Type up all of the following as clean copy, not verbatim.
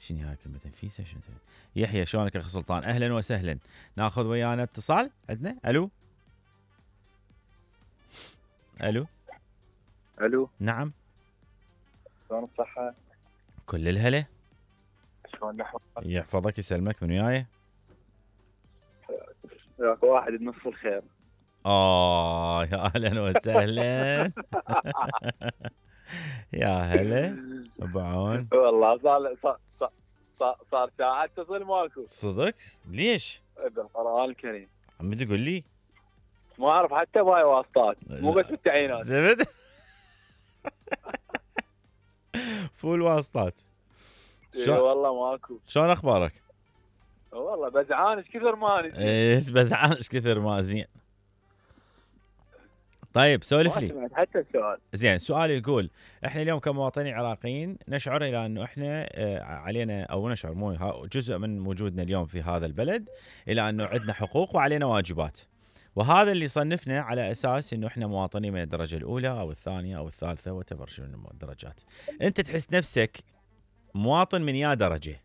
شنو هاي كلمة نفيسة؟ شنو يحيى شلونك اخي سلطان؟ اهلا وسهلا. ناخذ ويانا اتصال. عندنا الو. الو. الو. نعم. شلون الصحة؟ كل الهلا. شلون نحوك؟ يحفظك يسلمك. من وياي؟ وياك واحد بنص الخير. يا اهلا وسهلا. يا هلا ابو عون. والله صار ساعة اتصل ماكو. صدق؟ ليش؟ بالقرآن الكريم. عمي تقول لي؟ ما اعرف حتى باي واسطات، مو بس بالتعيينات. زبد. فول واسطات. اي والله ماكو. شلون اخبارك؟ والله بزعان ايش كثر ما ايه بزعان ايش كثر ما زين. طيب سولف لي. حتى السؤال. زين سؤالي يقول احنا اليوم كمواطنين عراقيين نشعر الى انه احنا علينا او نشعر مو جزء من وجودنا اليوم في هذا البلد الى انه عندنا حقوق وعلينا واجبات. وهذا اللي صنفنا على اساس انه احنا مواطنين من الدرجه الاولى او الثانيه او الثالثه وتبر شنو الدرجات. انت تحس نفسك مواطن من يا درجه؟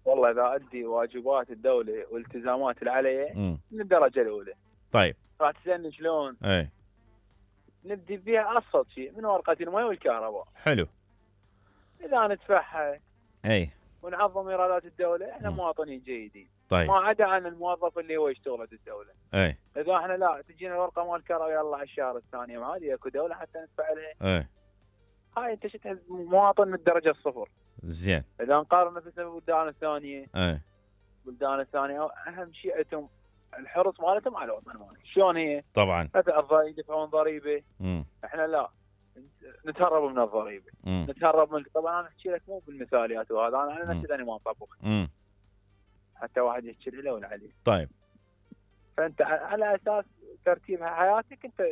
والله اذا ادي واجبات الدوله والالتزامات اللي علي من الدرجه الاولى. طيب راح تسالني شلون؟ اي نبدي فيها ابسط شيء من ورقه الماء والكهرباء. حلو. اذا ندفعها اي ونعظم ايرادات الدوله احنا مواطنين جيدين. طيب ما عدا عن الموظف اللي هو يشتغل الدوله. اي اذا احنا لا تجينا ورقه مال الكهرباء يلا على الشهر الثاني ما هذه اكو دوله حتى ندفع لها. اي هاي انت شتها مواطن من الدرجه الصفر. زين. اذا نقارن نفسنا بالبلدان الثانيه. اي البلدان الثانيه اهم شيء عندهم الحرص مالتهم على الوطن مالهم. شلون هي؟ طبعا مثلا يدفعون ضريبه. احنا لا نتهرب من الضريبه. نتهرب من طبعا انا احكي لك مو بالمثاليات وهذا انا نفسي لاني ما اطبق. حتى واحد يحكي له ولا عليه. طيب فانت على اساس ترتيب حياتك انت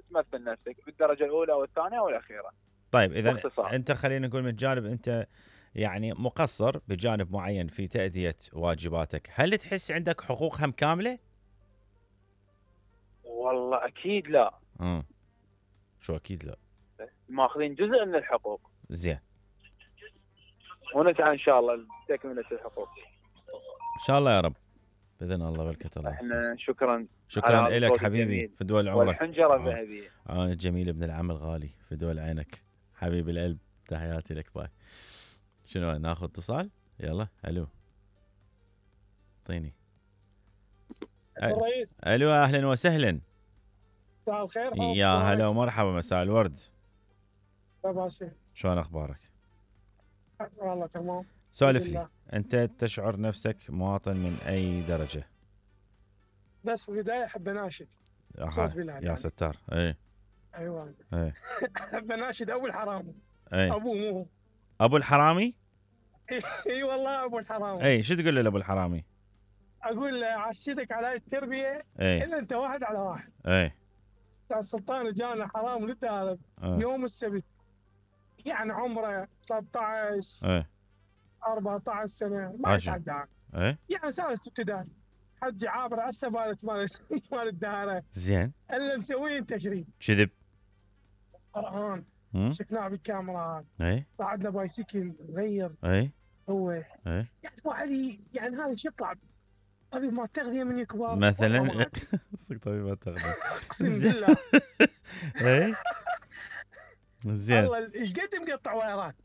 تمثل نفسك بالدرجه الاولى او الثانيه او الاخيره. طيب اذا انت خلينا نقول من جانب انت يعني مقصر بجانب معين في تأدية واجباتك، هل تحس عندك حقوق هم كاملة؟ والله اكيد لا. شو اكيد لا؟ ماخذين جزء من الحقوق. زين. ونسعى ان شاء الله لتكملة الحقوق. ان شاء الله يا رب باذن الله والكتر الله. احنا شكرا لك حبيبي في دول عمرك. والحنجره الذهبيه. انا الجميل ابن العم الغالي في دول عينك حبيب القلب. تحياتي لك. باي. شنو ناخذ اتصال؟ يلا. الو. اعطيني. الرئيس. الو اهلا وسهلا. مساء الخير. يا هلا ومرحبا. مساء الورد. باشا شلون اخبارك؟ والله تمام. سولف لي انت تشعر نفسك مواطن من اي درجه؟ بس في البدايه احب اناشد. يا ستار. اي ايوه اي احب اناشد ابو الحرامي. ابوه مو ابو الحرامي. اي والله ابو الحرامي. اي شو تقول له لابو الحرامي؟ اقول له عشتك على التربيه الا انت واحد على واحد. اي استاذ سلطان جانا حرام للدارب يوم السبت يعني عمره 13 14 سنه ما يتعدى. يعني سادس ابتدائي حج عابر هسه مال الدهره. زين. الا مسوين تشريف. كذب. قرآن. شفناه بالكاميرات. بعد له بايسكل صغير. هو يعني يعني هذا شو يطلع طبيب ما تغذيه من الكبار مثلا. طبيب ما تغذيه. اقسم بالله. زين. والله ايش قد مقطع وايرات.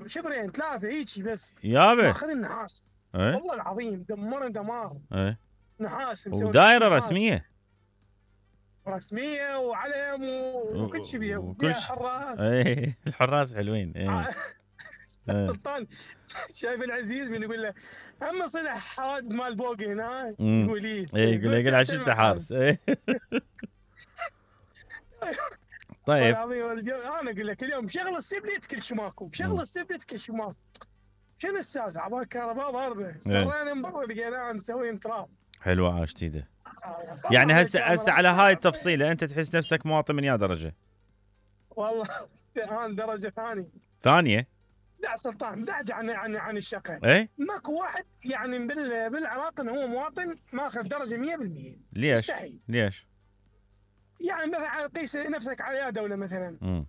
شبرين 3 هيجي بس. يابا ماخذ النحاس. والله العظيم دمرنا دمار. نحاس ودائره رسميه وعلم وكل شيء بيها وكل حراس. الحراس حلوين. سلطان شايف العزيز من يقول له هم صلح حوادث مال بوق هنا يقول يقول له عشان انت حارس. طيب انا اقول لك اليوم شغل السبليت كل شيء ماكو. شغل السبليت كل شيء ماكو. شنو السالفه؟ عبال كهرباء ضربه. ترينا من برا لقيناه مسوين تراب. حلوه عاش تيده. يعني هسه على هاي التفصيله انت تحس نفسك مواطن من يا درجه؟ والله انا درجه ثانيه. لا سلطان ابتعد عن الشقه. ماكو واحد يعني بالعراق انه هو مواطن ماخذ درجه 100%. ليش؟ مستحيل. ليش؟ يعني مثلا قيس نفسك على دوله مثلا